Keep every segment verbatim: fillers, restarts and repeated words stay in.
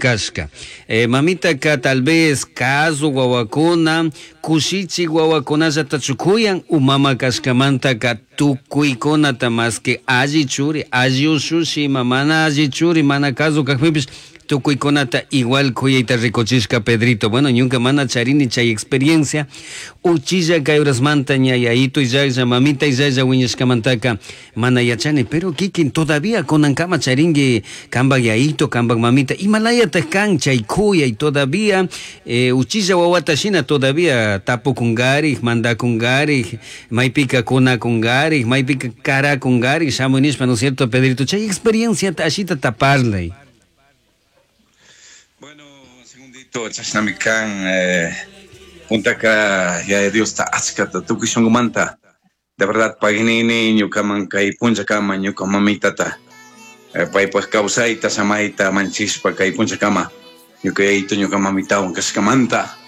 Kashka. Eh, mamitaka tal vez kazu wawakuna, kushichi wawakunallatachu kuyan, u mama kashkamantaka tukuykunata más que alli churi, alli ushushi, ima mana alli churi, mana kazu kajpipish, tukuykunata igual kuyayta rikuchishka Pedrito. Bueno, ñuka mana charini chay experiencia, uchilla kay horasmanta ña yayito illaklla, mamita illaklla wiñashkamantaka mana yachani, pero kikin todavía kunankama charinki kanpak yayito, kanpak mamita, imalayatak kan chay kuyay todavía, eh, uchilla wawata shina todavía tapukunkarik, mandakunkarik, maypika kunakunkarik, maypika karakunkarik, shamuy nishpa, ¿no es cierto, Pedrito? Chay experiencia ashita taparlay. Bueno, segundito, chashnami kan, eh, puntaka Yaya Diosta achkata tukuy shunqumanta. De verdad, paginini ñukaman kay punchakama ñuka mamitata, eh, paypaj kawsayta samayta manchishpa kay punchakama ñuka yayito ñuka mamitawan kashkamanta.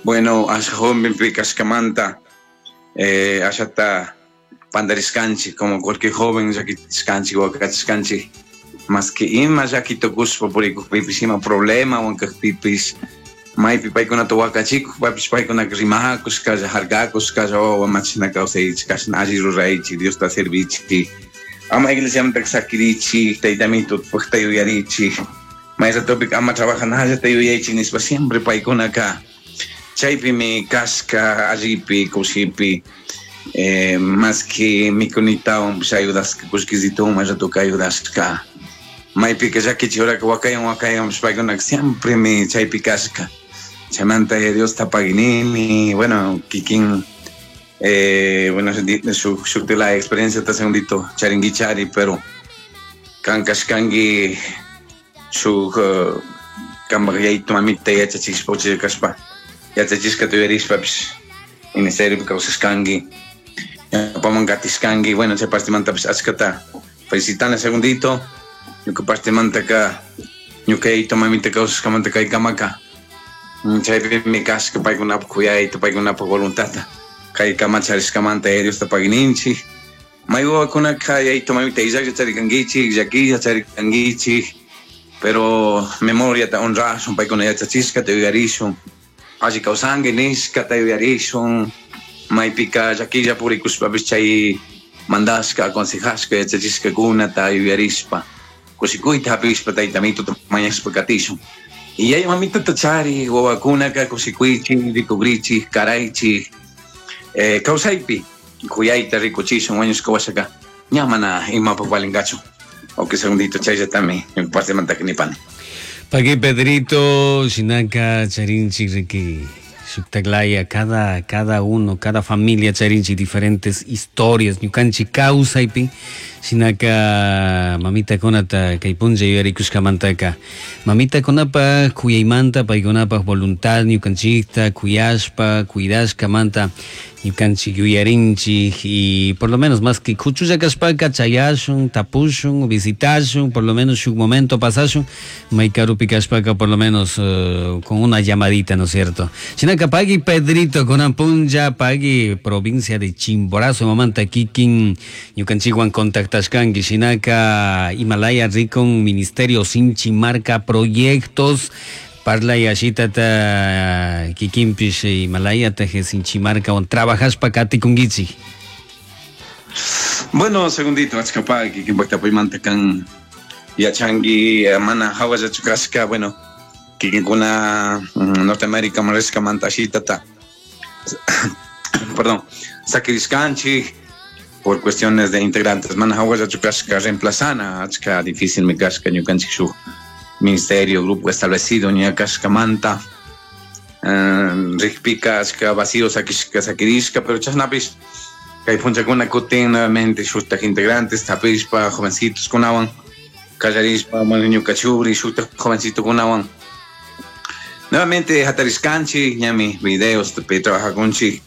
Bueno, asha jovenpi kashkamanta, eh, ashata pandarishkanchik, como cualquier joven llakishkanchik, wakachishkanchik, más que ima llaki tukushpa purikukpipis, ima problema wankakpipis, maypi paykunata wakachikukpapis paykunaka rimakushkalla, harkakushkalla, wawa machina kawsaychik, kashna alli ruraychik, Diosta servichik, ama iglesiamantaka sakirichik, taytamito pukta yuyarichik, may ratopika ama trabajanallata yuyaychik nishpa siempre paykunaka chaypimi kashka allipi, kushipi, eh, más que mikunitawan pues ayudashka, kullkisitawan may ratoka ayudashka. Maypika llakichi horaka wakayan wakayan pues paykunaka siempre mi chaypi kashka. Chaymanta Diosta paginini, bueno, kikin, eh, bueno, shuk, shuk de la experiencia ta segundito charinguichari, pero kan kashkanki shuk, eh, kanpak yayito mamita yachachishpa uchilla kashpa, yachachishka tuyarishpapis ministeriopi kawsashkanki, ñawpaman katishkanki, bueno, chay partimantapis achkata felicitana segundito, ñuka partimantaka ñuka yayito mamita kawsashkamanta kaykamaka, chaypimi kashka paykunapaj kuyayta, paykunapaj voluntadta kaykama charishkamanta Yaya Diosta pagininchik. May wawakunaka yayito mamita illaklla charikankichik, llakilla charikankichik, pero memoriata honrashun, paykuna yachachishkata yuyarishun, alli kawsanki nishkata yuyarishun, maypika llakilla purikushpapis chay mandashka, aconsejashka, yachachishkakunata yuyarishpa, kushikuyta hapishpa taytamituta mañashpa katishun. Y yaya mamitata chari, wawakunaka kushikuychik, rikugrichik, karaychik, eh, kawsaypi kuyayta rikuchishun, wañushka washaka ña mana imapaj valinkachu. Ok, segundito, chayllatami ñuka partimantaka nipani. Paqui Pedrito, shinaka charinchik riki shuktaklaya, cada, cada uno, cada familia charinchik diferentes historias, ñukanchik kawsaypi, shinaka mamitakunata kay punlla yuyarikushkamantaka, mamitakunapaj kuyaymanta, paykunapaj voluntad ñukanchikta kuyashpa, cuidashkamanta ñukanchik yuyarinchik, y por lo menos más que kuchulla kashpaka chayashun, tapushun, visitashun, por lo menos shuk momento pasashun, may karupi kashpaka por lo menos, eh, con una llamadita, ¿no es cierto? Shinaka pagui Pedrito kunan punlla, pagui provincia de Chimborazo, mamanta kikin ñukanchikwan contactashkanki, shinaka Himalaya rikun Ministerio Sinchimarca proyectos, parlay ashitata kikinpish Himalaya ta Sinchimarca on trabajashpa katikunkichik. Bueno, segundito, achkapa kikinpak tapuymanta kan yachanki, eh, mana hawallachu kashka, bueno, kikinkuna, mm, Norteamérica rishkamanta ashitata, perdón, sakirishkanchik por cuestiones de integrantes, mana hawallachu kashka reemplazana, achka difícil mi kashka ñukanchik shuk ministerio, grupo establecido, ña kashkamanta, eh, rikpika achka vacío sakishka sakirishka, pero chashnapis kay punchakuna kutin nuevamente shuktak integrantes tapishpa jovencitos kunawan kallarishpa, bueno, ñuka churi shuktak jovencito kunawan nuevamente hatarishkanchik, ñami videos tepi trabajakunchik,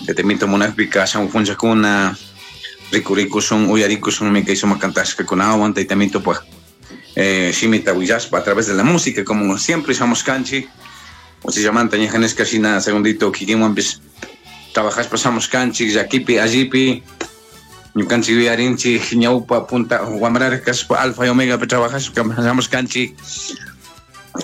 tetemito munakpika shamu punchakuna rikurikushun uyarikushun mi kay sumak kantashka kunawan taytamito pues, eh, shimita willashpa a través de la música, como siempre shamushkanchik, uchillamanta ñajaneska shina segundito kikinwanpis trabajashpa shamushkanchik, llakipi allipi ñukanchik yuyarinchik ñawpa punta wamraraj kashpa alfa y omega pe trabajashpa shamushkanchik,